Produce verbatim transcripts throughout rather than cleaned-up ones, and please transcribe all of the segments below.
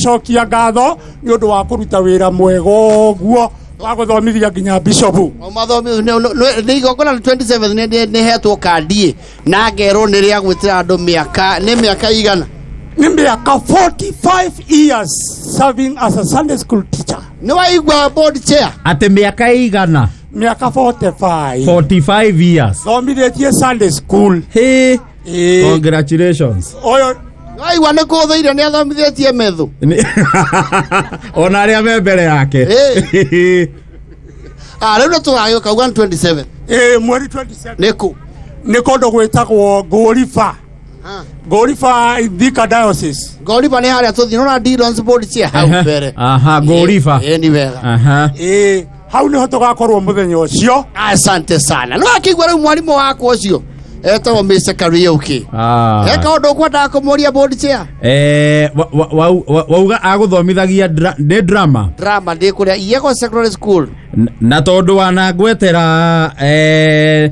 Cokia ngatho nĩ ũndũ wa kũruta wĩra mwega ũguo wa gũthomithia nginya bishop. Nĩ igongona twenty-seven nĩ hetwo kandi na ngerwo nĩ rĩa gwĩtĩra andũ mĩaka nĩ mĩaka igana. Nĩ mĩaka forty-five years serving as a Sunday school teacher. Nĩ waigua board chair atĩ mĩaka igana? Mĩaka forty-five. forty-five years thomithĩtie Sunday school. Hey, congratulations. Oyo waigua nĩ kũthũire nĩ athomithĩtie methu ona arĩa me mbere yake. Ah, rĩu nĩ tũgagĩũka one twenty-seven. Eh, mweri twenty-seven. Nĩ kũ? Nĩ kũndũ gwĩtagwo Ngũriba. Ngũriba Thika Diocese. Ngũriba nĩ harĩa tũthiĩ nona Dillon's board chair hau mbere. Aha, Ngũriba. Eh, ni wega. Aha. Eh, hau nĩho tũgakorwo mũthenya ũcio. Asante sana. No akĩigua rĩu mwarimũ wakwa ũcio etagwo Mister Kariuki. Ah. He kaũndũ ũkwendaga kũmũria board chair? Eh, wauga agũthomithagia nĩ drama. Drama ndĩ kũrĩa Iyego Secondary School. Na tondũ wanangwetera eh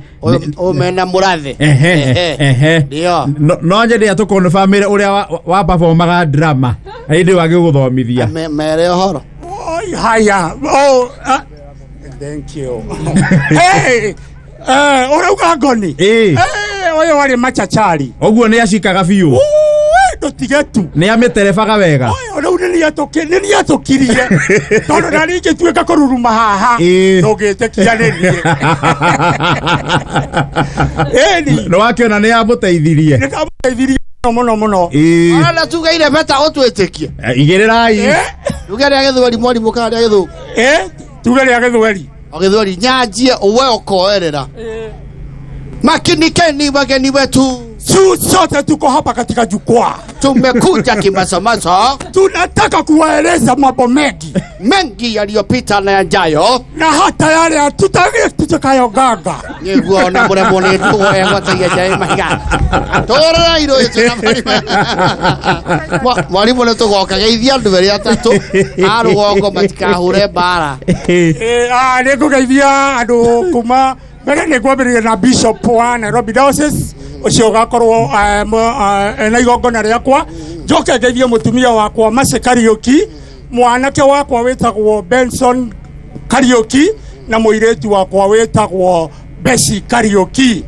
omena mũrathe. Ehe ehe. Ndio. No nyende atũkonfirmĩre ũrĩa wa performaga drama hĩndĩ wagĩgũthomithia. Mere ũhoro. Oi haya. Oh, thank you. Hey, eh ũrauga ngoni? Eh. Ũyũ warĩ machachari. Ũguo nĩ acikaga biũ. Ndũtige tu. Nĩ amĩterebaga wega. Ũyũ rĩu nĩ nĩatũkirie. Tondũ na rĩngĩ tuĩka kũruruma haha. Ndũngĩtĩkia nĩ niĩ. Ĩni. Nĩ wakĩona nĩ amũteithirie. Nĩ ndamũteithirie mũno mũno. Ona tugeire beta ũtwĩtĩkie. Igĩrĩrai. Tuge rĩa gĩthweri mwarimũ kana rĩa gĩthũngũ? Eh, tuge rĩa gĩthweri. O gĩthweri nyanjie ũwe ũkoerera. Makinikeni wageni wetu. Sote tuko hapa katika jukwaa. Tumekuja kimasomaso. Tunataka kuwaeleza mambo mengi. Mengi yaliyopita na yajayo. Na hata yale hatutaki tutakayogaga. Niguo na murembo ni tuwe jae mahiga. Torora iro yetu na mwalimu. Mwalimu nĩ tũgoka geithia andũ erĩ atatũ a rũgongo matikahure mbara. Eh, ah, nĩngũgeithia andũ kuma mbere nĩ ngwambĩrĩria na Bishop wa Nairobi Diocese ũcio ũgakorwo na igongona rĩakwa. Njoke ngeithie mũtumia wakwa Mercy Kariuki, mwanake wakwa wĩtagwo Benson Kariuki na mũirĩtu wakwa wĩtagwo Bessie Kariuki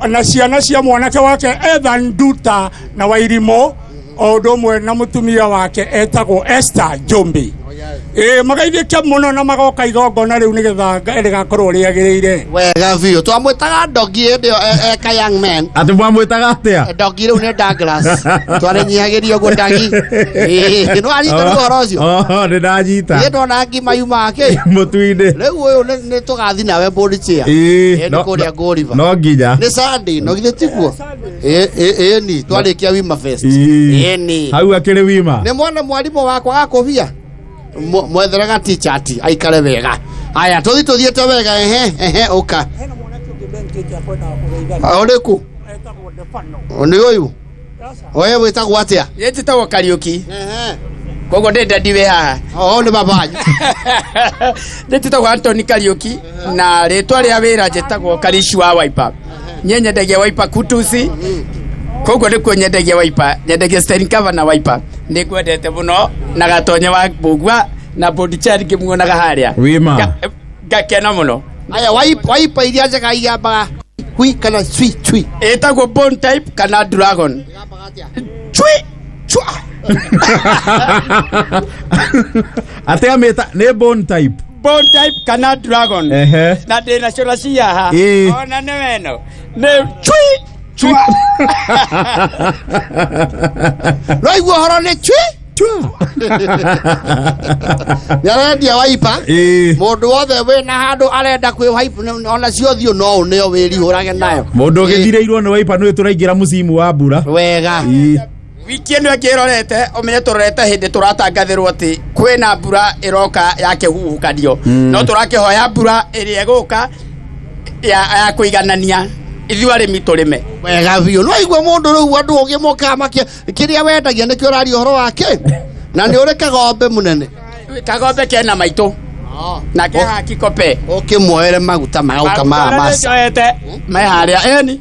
na ciana cia mwanake wake Ethan Nduta na Wairimo o ũndũ ũmwe na mũtumia wake etagwo Esther Njumbi. Eh, magaithĩke mũno na magoka igongona rĩu nĩgetha rĩgakorwo rĩagĩrĩire. Wega biũ. Twamwĩtaga Dogi hĩndĩ ĩyo eka young man. Atĩ mwamwĩtaga atĩa? Dogi rĩu nĩ Douglas. Twarĩnyihagĩrio ũguo Dagi. Ĩĩ, nĩ wanyita rĩu ũhoro ũcio? Oh, nĩ ndanyita. Niĩ ndona ngima yuma kĩ? Mũtu-inĩ. Rĩu ũyũ nĩ tũgathi nawe board chair. Ĩĩ, nĩ kũrĩa Ngũriba. No nginya. Nĩ Sunday, no githĩ tiguo? Ĩĩ, ĩĩ ni twarĩkia Wima Fest. Ĩĩ ni. Hau akĩrĩ Wima. Nĩ mwana mwarimũ wakwa gakũbia. Mwetheraga t-shirt aikare wega. Aya tũthi tũthiĩte wega. Ehe ehe ũka. Hena mwanake ũngĩ benkĩte akwendaga kũgeithania. Ũrĩkũ? Etagwo Stefano. Nĩ ũyũ? Oye wĩtagwo atĩa? Niĩ njĩtagwo Kariuki. Ehe. Koguo ndĩ ndadi wĩ haha. Oo nĩ baba wanyu. Niĩ njĩtagwo Anthony Kariuki na rĩtwa rĩa wĩra njĩtagwo Karishi wa Wiper. Niĩ nyendagia Wiper Kutusi. Koguo nĩkuo nyendagia Wiper, nyendagia steering cover na Wiper. Nĩ ngwendete mũno na gatonye wa Mbũgua na board chair ngĩmuonaga harĩa. Wima. Ngakena mũno. Aya Wiper iria njega igambaga hui kana cui cui. Ĩtagwo bone type kana dragon. Cui chua. Atĩ amĩta nĩ bone type. Bone type kana dragon. Ehe. Na ndĩna cũra cia haha. Ona nĩ weno. Nĩ cui chua. Rĩu ũhoro nĩ cui nĩarendia Wiper. Mũndũ wothe wĩna handũ arenda kwĩ wipe ona cio thiũ no ũneo wĩrihũrage nayo. Mũndũ ũgĩthirĩirwo nĩ Wiper nĩ tũraingĩra mũcimu wa mbura. Wega. Wiki ĩno ĩngĩ ĩrorete ũmenye tũrorete hĩndĩ tũratangathĩrwo atĩ kwĩna mbura ĩroka ya kĩhuhũkanio. No tũrakĩhoya mbura ĩrĩa ĩgũka ya ya kũiganania ithuĩ arĩmi tũrĩme. Wega biũ. No igua mũndũ rĩu andũ ũgĩmokaga makĩ kĩrĩa wendagia nĩkĩo ũraria ũhoro wake. Na nĩ ũrĩ kagombe mũnene. Kagombe kena maitũ. Na ke haki kope. Ũkĩmuoere maguta magauka ma masa. Njoete me harĩa ĩni.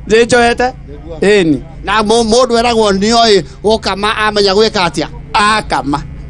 Njoete ĩni. Na mũndũ eragwo nĩoĩ gũkama amenya gwĩka atĩa. Akama.